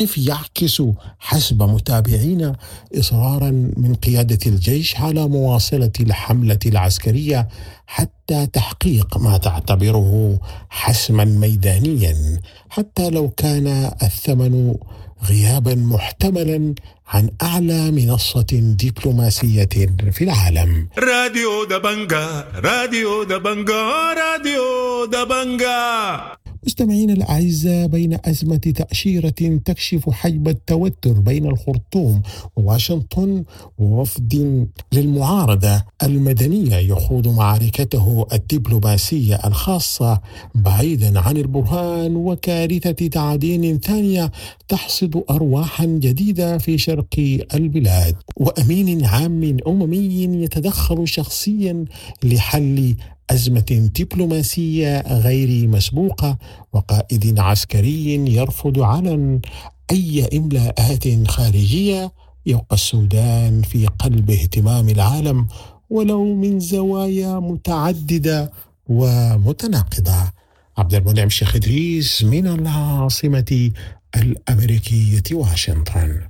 يعكس حسب متابعين إصرارا من قيادة الجيش على مواصلة الحملة العسكرية حتى تحقيق ما تعتبره حسما ميدانيا، حتى لو كان الثمن غيابا محتملا عن أعلى منصة دبلوماسية في العالم. راديو دبنجا، راديو دبنجا، راديو دبنجا. مستمعينا الأعزاء، بين أزمة تأشيرة تكشف حجم التوتر بين الخرطوم وواشنطن، ووفد للمعارضة المدنية يخوض معركته الدبلوماسية الخاصة بعيدا عن البرهان، وكارثة تعدين ثانية تحصد أرواحا جديدة في شرق البلاد، وأمين عام أممي يتدخل شخصيا لحل أزمة دبلوماسية غير مسبوقة، وقائد عسكري يرفض علنا أي إملاءات خارجية، يبقى السودان في قلب اهتمام العالم ولو من زوايا متعددة ومتناقضة. عبد المنعم شيخ إدريس من العاصمة الأمريكية واشنطن.